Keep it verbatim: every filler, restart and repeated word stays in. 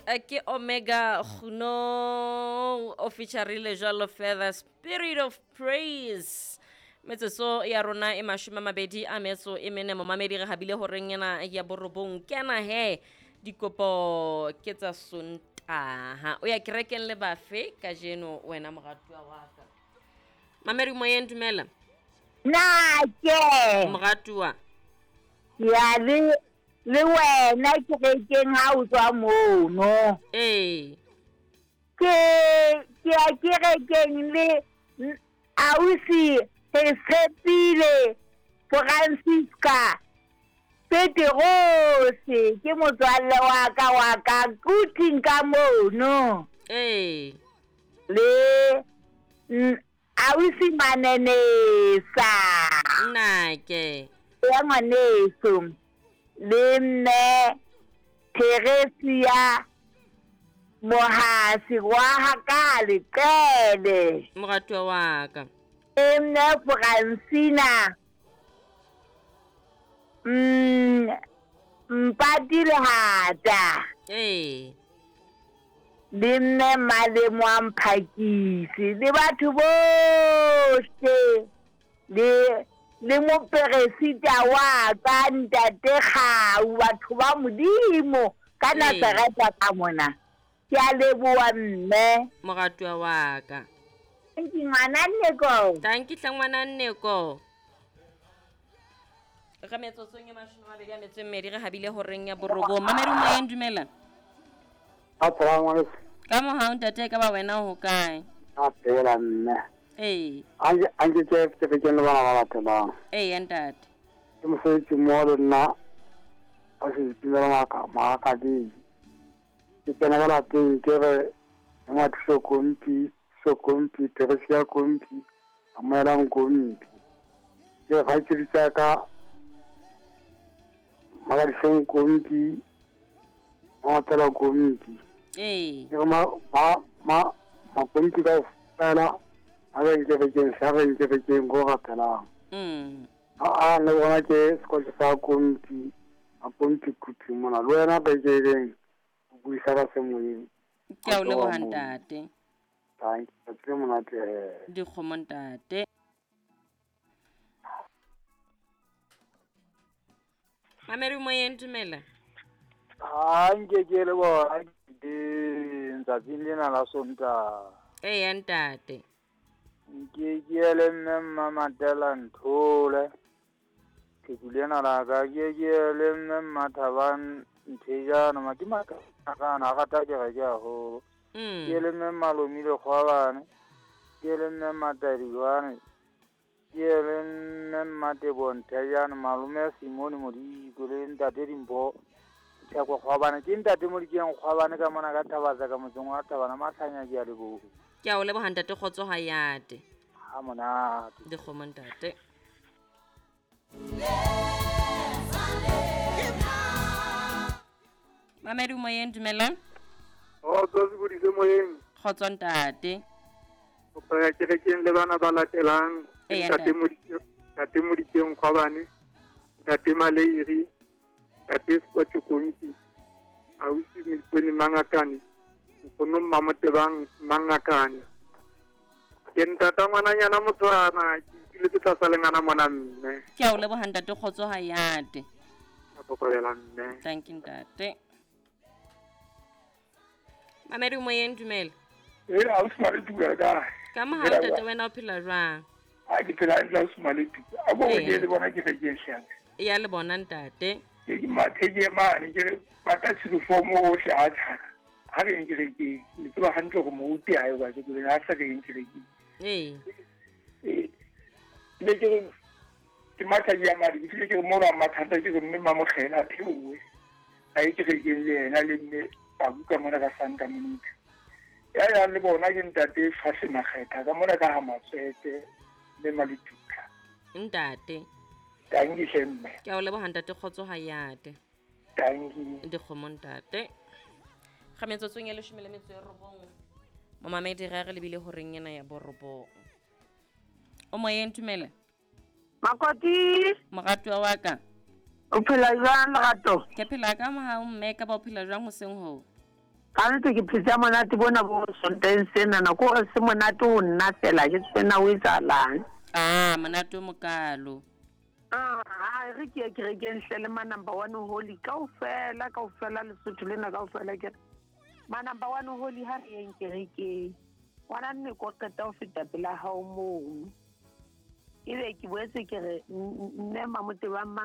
Ke Omega Kguno o featurile jwalo further Spirit of Praise. Metsotso ya rona e mashome a mabedi a metso e mene, momamedi re habile horeng ena ya borobong. Kena he dikopo ke tsa Sontaha. O ya kerekeng le bafe kajeno wena moratuwa wa ka? Mamedi moyeng, dumela. Nake. Moratuwa. Ya le le wena kerekeng ha o tswa mono. Ee. Ke ke ya kerekeng le ausi re tshepile Francisca Peterose ke motswalle wa ka wa ka kuting ka mono. Ee. Le ausi Manenesa. Nake. Ya ngwaneso. Le mme Theresia Mohasi wa ha Leqele. Moratuwa wa ka. Le mme Francina mm Mpati Lehata. Ee. Le mme Malemo a Mphakisi le batho bohle le le moperesita wa ka ntate Kgau, batho ba Modimo ka Nazareta ka mona. Ke a leboha mme. Moratuwa wa ka. Thank you ngwana Nneko. Thank you hle ngwana Nneko. Re metsotsong e mashome a mabedi a metso e mmedi re habile horeng ya borobong. Mamedi moyeng, dumela. Assalamu alaikum. Ka mohau ntate, ka ba wena ho kae? A phela mme. Ee. Anje anje ke ke le bana ba latelang. Ee ntate. Ke mosebetsi mo le nna a se itumela maka maka di. Ke tsena ka lapeng ke re ngwa kompi kompi Theresia kompi amoelang kompi. Ke ga ke ditsa ka magadiseng kompi motela kompi. Ee. Ke ma ma ma ma kompi ka fela a re ke re ke sa re ke re ke go rapelang. Mm. A a le bona ke sekolo sa kompi a kompi kupi mona le wena ba ke reng o buisa ba se moyeng. Ke a o leboha ntate. Thank you. Ke monate. Dikgomo ntate. Mamedi moyeng, dumela. Ha nke ke le bona tsatsing lena la Sontaha. Ee ntate. Nke ke le mme Mmamatela Nthole. Ke lena la ka ke ke le mme Mmathabang Nthejana ma ke makana rata kereke haholo. Ke le mme Malomile Kgwabane. Ke le mme Matadiwane. Ke le mme Mmatebo Nthejana malome Simone Modiko le ntate Dimpho Theko Kgwabane. Ke ntate Modikeng Kgwabane ka mona ka Thabatsa ka motseng wa Thabana Mahlanya ke a leboha. Ke a o leboha ntate, kgotso ha yate. Ha monate. Dikgomo ntate. Mamedi moyeng, dumela. Kgotso sebodise moyeng. Kgotso ntate. Kopa ya kerekeng le bana ba latelang. Ntate Modikeng, ntate Modikeng Kgwabane, ntate Maleiri, ntate Sekotjo Kompi, ausi Mipone Mangakane, nkgono Mmamotebang Mangakane. Ke ntata ngwananyana Motswana, ke ipiletse tlasa lengana mona mme. Ke a o leboha ntate, kgotso ha yate. A kokobela mme. Thank you ntate. Mamedi moyeng, dumela. Ee, ausi Maletuka kae? Ka mohau ntate, wena o phela jwang? A ke phela hantle ausi Maletuka. A bo ke le bona ke rekeng hlang. Ya le bona ntate. Ke ke mathe ke mane ke re pata uniform ohle a tshana. Ha re nke rekeng, le tseba hantle hore moruti ha e ba ke le ha sa re nke rekeng. Ee. Ee. Le ke re ke matha ke ya madi, ke ke mo ra mathata ke re mme Mamogela a theowe. A e ke rekeng le yena le mme Babuka mona ka Santa Monica. Ya ya le bona ke ntate Fase Makgetha ka mona ka ha Matswete le Maletuka. Ntate. Thank you mme. Ke a o leboha ntate, kgotso ha yate. Thank you. Dikgomo ntate. Ga metsotsong e leshome le metso e robong. Momamedi re re lebile horeng ena ya borobong. O moyeng, dumela. Makoti. Moratuwa wa ka. O phela jwang lerato? Ke phela ka mohau mme, ka ba o phela jwang hoseng hoo? Gantsi ke phetse ha monate bona bo Sontaheng senana, ko hore se monate ho nna fela ke tsebe o etsahalang. Ah, monate o mokalo. Ah, ha re ke ye kerekeng hle le ma number one holy kaofela kaofela Lesotho lena kaofela ke re ma number one holy ha re yeng kerekeng. Ngwana nne ko qeta ho feta pela hao mono. Ebe ke boetse ke re mme Mamotebang mang